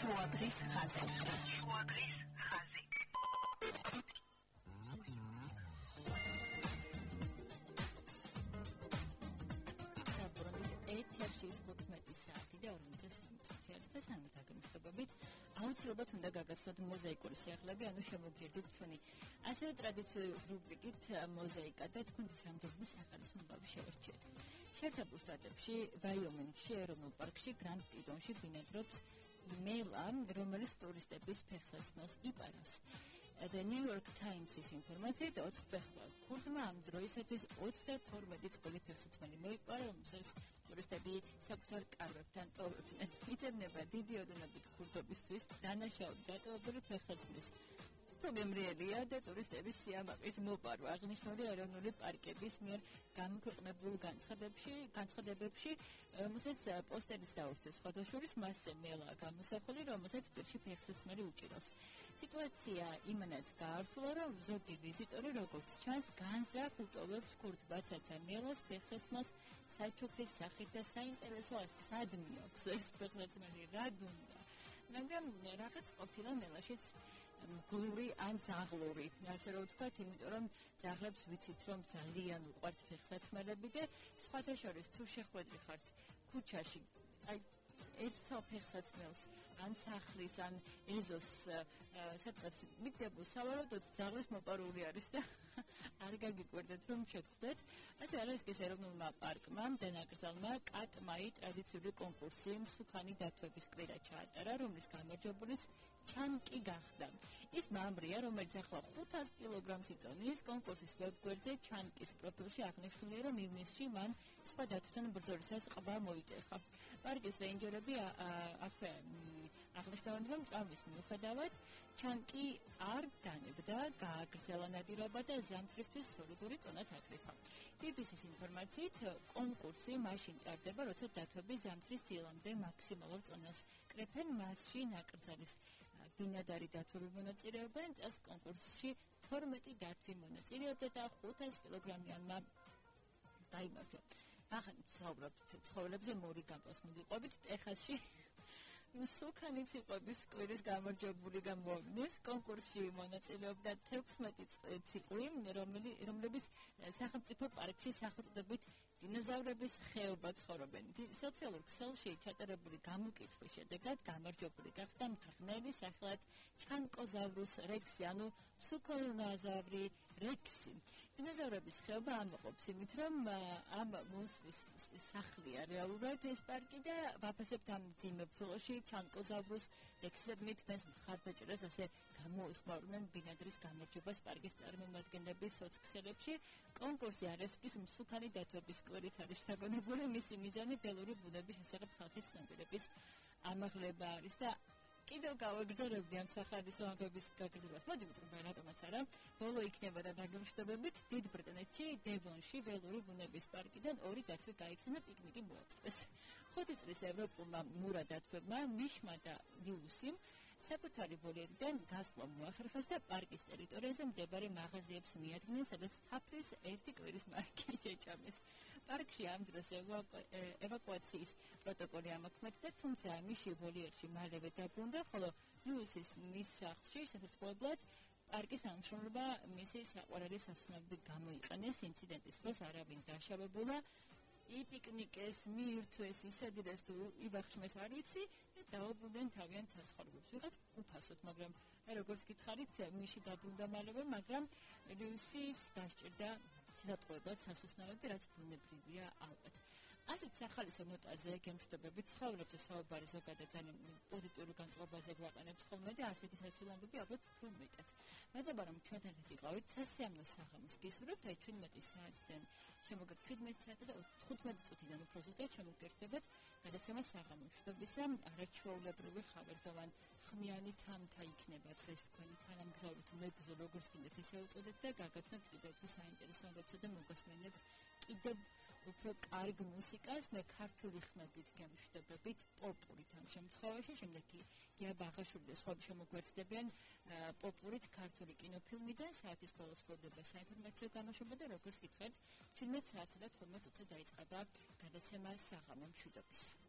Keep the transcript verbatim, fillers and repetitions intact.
შუადღის ხაზი. შუადღის ხაზი. ეთერში თხუთმეტი საათი და ორმოცდასამი წუთი არის და სამი დაგემშვიდობებით. აუცილებლად უნდა გაგაცნოთ მოზაიკური სიახლეები, ანუ შემოგიერთდით ჩვენი ასევე ტრადიციული რუბრიკით მოზაიკა და თქვენ სამდღმის სახალისო ნებავი შევერჩიეთ. შეერთებულ შტატებში, ვაიომინგში, ეროვნულ პარკში, გრანდ ტიტონში ბინადრობს მელა, რომელიც ტურისტების ფეხსაცმელს იპარავს. The New York Times-ის ინფორმაციით ოთხ ფეხბურთელს ქურდმა ამ დროისათვის ოცდათორმეტი წელი ფეხსაცმელი მოიპარა, რომელსაც ტურისტები საკუთარ კარვებთან ტოვებდნენ. იწევნება დიდი ოდენობით ქურდობისთვის დანაშაული დატოვებული ფეხსაცმლის პრობლემრიელია და ტურისტების სიამაყის მოპარვა. აღნიშნული ეროვნული პარკების მიერ გამოქვეყნებულ განცხადებებში, განცხადებებში, რომელსაც პოსტერიც დაურჩეს სხვადასხვა მასზე მელა გამოსახული, რომელსაც პირში ფეხსაცმელი უჭირავს. სიტუაცია იმანაც გაართულა, რომ ზოგი ვიზიტორი, როგორც ჩანს, განზრახ უტოვებს ქურდ ბაცაცა მელას ფეხსაცმელს საჩუქრის სახით და საინტერესოა სად მიაქვს ეს ფეხსაცმელი, რა დუმდა. მაგრამ რაღაც ყოფილა მელაშიც გლური ან ძაღლური, ასე რომ ვთქვათ, იმიტომ რომ ძაღლებს ვიცით, რომ ძალიან უყვართ ფეხსაცმელები და სხვათა შორის თუ შეხვედრი ხართ ქუჩაში, აი ერთ ფეხსაცმელს ან სახლის ან ეზოს სადღაც მიგდებულ სავარაუდოდ ძაღლის მოპარული არის და არ გაგიკვირდეთ რომ შეგხვდეთ. ასე ალასკის ეროვნულმა პარკმა დანაკრძალმა კატმაი ტრადიციული კონკურსი მსუქანი დათვების კვირა ჩაატარა, რომლის გამარჯვებულიც ჩანკი გახდა. ის მამრია, რომელიც ახლა ხუთას კილოგრამს იწონის, კონკურსის ვებგვერდზე ჩანკის პროფილში აღნიშნულია, რომ ივნისში მან სხვა დათვთან ბრძოლისას ყბა მოიტეხა. პარკის რეინჯერები აქვე აღნიშნავენ, რომ ტრავმის მიუხედავად ჩანკი არ დანებდა, გააგრძელა ნადირობა და ზამთრისთვის სოლიდური წონაც აკრიფა. ბი ბი სის ინფორმაციით, კონკურსი მაშინ ტარდება, როცა დათვები ზამთრის წილამდე მაქსიმალურ წონას კრეფენ, მასში ნაკრძალის ბინადარი დათვები მონაწილეობენ, წელს კონკურსში თორმეტი დათვი მონაწილეობდა და ხუთას კილოგრამიანმა დაიმარჯვა. ახლა ვსაუბრობთ ცხოველებზე, მორიგანპოს მოგიყვებით ტეხასში. მსუქანი ციყვების კვირის გამარჯვებული გამოვიდეს, კონკურსში მონაწილეობდა თექვსმეტი ციყვი, რომლებიც სახელმწიფო პარკში სახელწოდებით დინოზავრების ხეობა ცხოვრობენ. სოციალურ ქსელში ჩატარებული გამოკითხვის შედეგად გამარჯვებული გახდა მთრიმლელი სახელად ჩანკოზავრუს რექსი, ანუ მსუქონაზავრი რექსი. დინოზავრების ხეობა ამაყობს იმით, რომ ამ მონსტრის სახლია რეალურად ეს პარკი და ვაფასებთ ამ მძიმე ბრძოლაში ჩანკოზავრუს რექსისადმი თქვენს მხარდაჭერას, ასე გამოიხმაურნენ ბინადრის გამარჯვებას პარკის წარმომადგენლები სოცქსელებში. კონკურსი ალასკის მსუქანი დათვების კვირით არის შთაგონებული, მისი მიზანი ველური ბუნების შესახებ ხალხის ცნობიერების ამაღლება არის და კიდევ გავაგრძელებდი ამ სახალისო ამბების გაგრძელებას. მოდი ვიტყვი რატომაც არა. ბოლო იქნება და დაგემშვიდობებით, დიდ ბრიტანეთში, დევონში ველური ბუნების პარკიდან ორი დათვი გაიქცნა პიკნიკი მოაწყვეს. ხუთი წლის ევროპულმა მურა დათვებმა მიშმა და ლიუსიმ საკუთარი ვოლიერიდან გასვლა მოახერხეს და პარკის ტერიტორიაზე მდებარე მაღაზიებს მიადგნენ, სადაც თაფლის ერთი კვირის მარკი შეჭამეს. პარკში ამ დროს ევაკუაციის პროტოკოლი ამოქმედდა, თუმცა მიში ვოლიერში მალევე დაბრუნდა, ხოლო ლიუსის მის სახლში შესაძლებლად პარკის ამშრომლობა მისი საყვარელი სასუნავებლად გამოიყენეს. ინციდენტის დროს არავინ დაშავებულა. იპიკნიკეს, მიირთვეს, ისედირეს თუ იბახშმეს არ ვიცი და დაუბრუნდნენ თავიანთ საცხოვრებლებს. ვიღაც უფასოდ, მაგრამ როგორც გითხარით, მიში დაბრუნდა მალევე, მაგრამ ლიუსის დასჭირდა შესაძლებლად სასუსნავები, რაც ბუნებრივია ალბათ. ასეთ სახალისო ნოტაზე გემშვიდობებით ცხოვრობთ საუბარი ზოგადად ძალიან პოზიტიური განწყობაზე გვაყენებს ხოლმე და ასეთი საცილანდები ალბათ უფრო მეტად. მადლობა რომ ჩვენთან ერთად იყავით. სასიამოვნო საღამოს გისურვებთ. აი ჩვენმეტი საათიდან შემოგეთ ჩვენმეტი საათი და თხუთმეტი წუთიდან უფრო ზუსტად შემოგერთებათ გადაცემა საღამო მშვიდობისა. არაჩვეულებრივი ხავერდოვან ხმიანი თამთა იქნება დღეს თქვენი თანამგზავრი თუ მეგზო როგორც გინდათ ისე უწოდეთ და გაგაცნობთ კიდევ უფრო საინტერესო ამბებსა და მოგასმენებთ კიდევ უფრო კარგ მუსიკას, მე ქართული ხმებით გემშვიდობებით, პოპურით ამ შემთხვევაში, შემდეგ კი გია ბაღაშვილი და სხვები შემოგვერთდებიან პოპურით ქართული კინოფილმიდან, საათის ბოლოს გვხვდება საინფორმაციო გამოშვება და როგორც გითხარით, ჩვენმეტ საათსა და თხუთმეტ წუთზე დაიწყება გადაცემა საღამო მშვიდობისა.